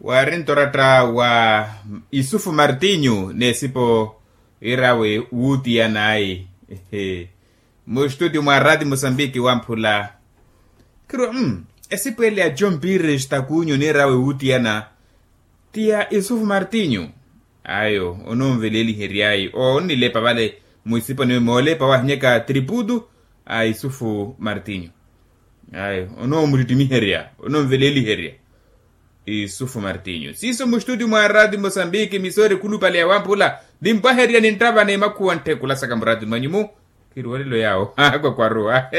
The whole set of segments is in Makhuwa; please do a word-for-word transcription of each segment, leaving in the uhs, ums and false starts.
Waari nto oratta wa isufu martinyu n'esipo irawe wuutiyana ayi. Mustutio mwa rati musambiki wamphula. Khirwa mm esipo ele ya john pires takunyu n'irawe wuutiyana ti ya isufu martinyu. Ayo ononveleliheryayi onnilepa vale. Mwisiponi moolepa wahinyaka triputu a isufu martinyu. Ayo onoomuttittimiherya ononveleliherya. Isufu martinyu siiso mustutio mwa rati mosambiki misoori khulupale ya wamphula. Nimpwaherya ninttava n'emakhuwa ntthekula saka murati mwanyu-mu. Khiriwolelo yaawo akwakwaruwa.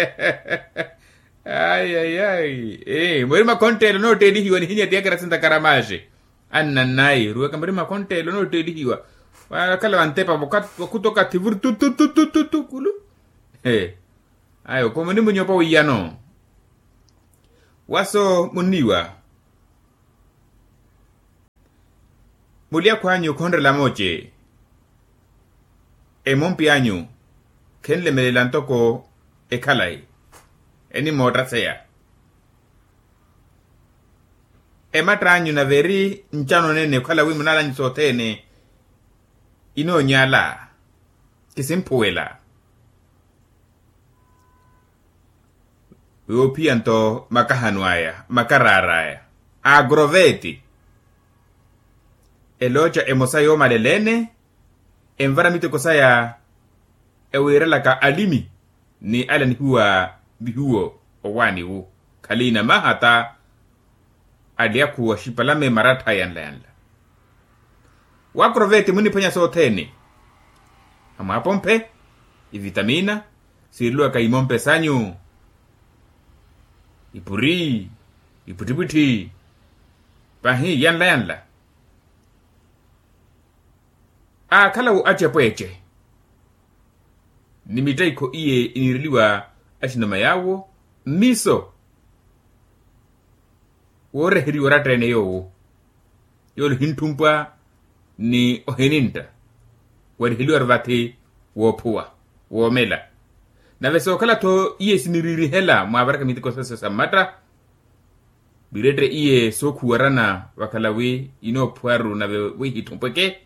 Ayayayi. Mweri makhonttelo nootteelihiwa nihinya tiyakera sintakara maaxe. Annannayi ruweka muri makhonttelo nootteelihiwa. Wakhala vantepa vakhuta okathi vuri tututututukulu. Ayo khomuni munyopa wiyano. Waso munniwa. Mulyakhu anyu khonrela mooce. Emompi anyu khenlemelela ntoko ekhalayi. Enimoottaseya. Ematta anyu nave eri ncano neene okhala wi munala anyu sothene inoonyala kisimphuwela. Yoophiya nto makahano aya makaraara aya agroveti. Elooca emosa yoomaleleene envara miteko saya ewiirelaka alimi ni ale anihuwa vihuwo owaani wu khaliina maha ta ali akhuwa xipalame marattha yanla yanla. Wakroveti muniphwanya sothene amwapomphe ivitamina siireliwaka imompe sanyu ipuri ipwittipwitthi pahi yanla yanla. Aakhala wo acepweece ni mittaikho iye iniireliwa axinama yaawo mmiso wooreheriwa oratta-ene yoowo yoole ohintthumpa ni ohinintta wariheliwa-ru vathi woophuwa woomela. Nave sookhala-tho iye siniriirihela mwaavaraka miteko sasa sa mmatta. Virette iye sookhuwarana vakhala wi inoophuwa-ru nave wi hitthumphweke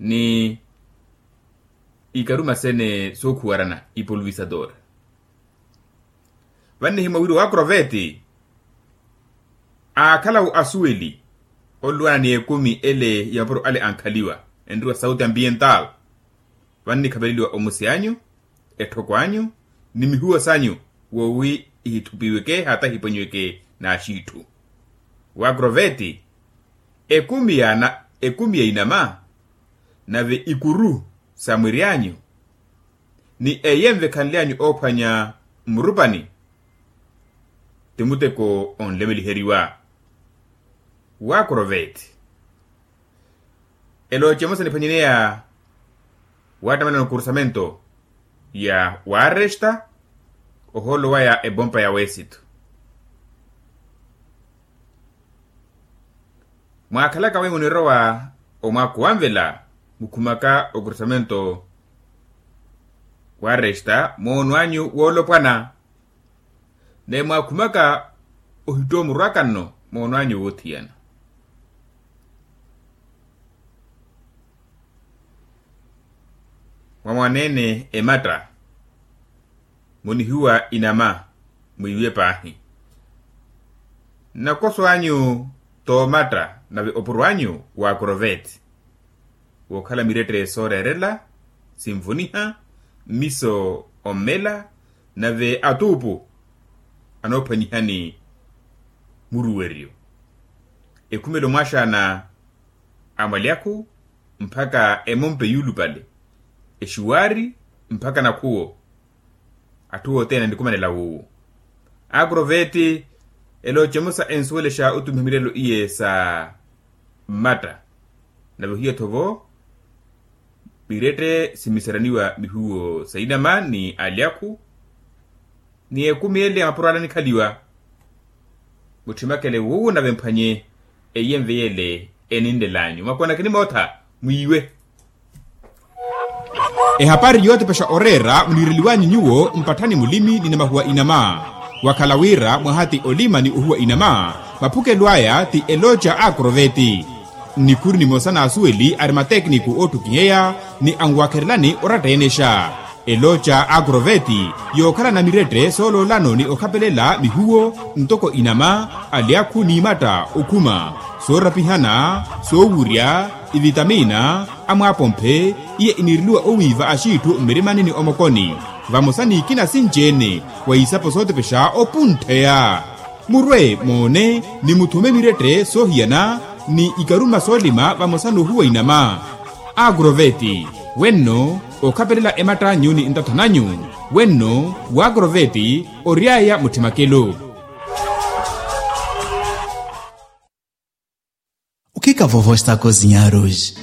ni ikaruma sene sookhuwarana ipulvisador. Vannihimwa wira owakroveti aakhala-wo asuweli olluwana ni ekumi ele ya mapuro ale ankhaliwa enriwa sauti ambiental. Vannikhaveleliwa omusi anyu etthoko anyu ni mihuwo sanyu woowi ihithupiweke hata hipwenyiweke n'axiitthu. Wakroveti ekumi ya inama nave ikuru sa mwiri anyu ni eyenve ekhanle anyu oophwanya mmurupani ti muteko onlemeliheriwa. Wakroveti elooce emosa niphwanyeneya wattamelana okrusamento ya waresta ohoolo waya ebompa ya wesito. Mwaakhalaka wi munirowa omwaakhu wanvela mukhumaka okrusamento waresta moono anyu woolopwana naye mwaakhumaka ohitta omurwaka nno moono anyu woothiyana. Mwamwaneene ematta munihiwa inama mwiiwe paahi. Nnakoso anyu t'omatta nave opuro anyu wa akroveti wookhala mirette sooreerela sinvuniha mmiso ommela nave atuupu anoophwanyihani muruweryo ekhumelo mwaaxaana a mwalyakhu mpakha emompe yuulupale exuwaari mpakha nakhuwo. Atthu othene anikumanela wuuwo akroveti eloocemusa ensuwelexa otumiha milelo iye sa mmatta nave ohiya-tho vo mirette simiseraniwa mihuwo sa inama ni alyakhu ni ekumi ele ya mapuro ale anikhaliwa. Mutthimakele wuuwo nave mphwanye eyenve yele eninlel'anyu mwakoonakeni mootha mwiiwe. Ehapari yootepexa oreera muniireliw'anyu nyuwo mpatthani mulimi ni namahuwa inama wakhala wira mwaha ti olima ni ohuwa inama. Maphukelo aya ti eloca a akroveti. Nnikhuru nimosa n'asuweli ari matekiniku oottukiheya ni anwakherelani oratta enexa. Eloca a akroveti yookhalana mirette sooloolano ni okhapelela mihuwo ntoko inama, alyaakhu n'imatta okhuma, soorapihana, soowurya, ivitamina, amwaapomphe, iye iniireliwa owiiva axiitthu mmirimani ni omokoni, vamosa n'ikina sinci-ene, wa isapo sootepexa opuntheya. Murwe moone ni muthume mirette soohiyana ni ikaruma soolima vamosa n'uhuwa inama. Akroveti, wenno okhapelela ematt'anyu ni ntathan'anyu. Wenno wa akroveti ory'aya mutthi makelo. Okhika vovo estako zinyaruji.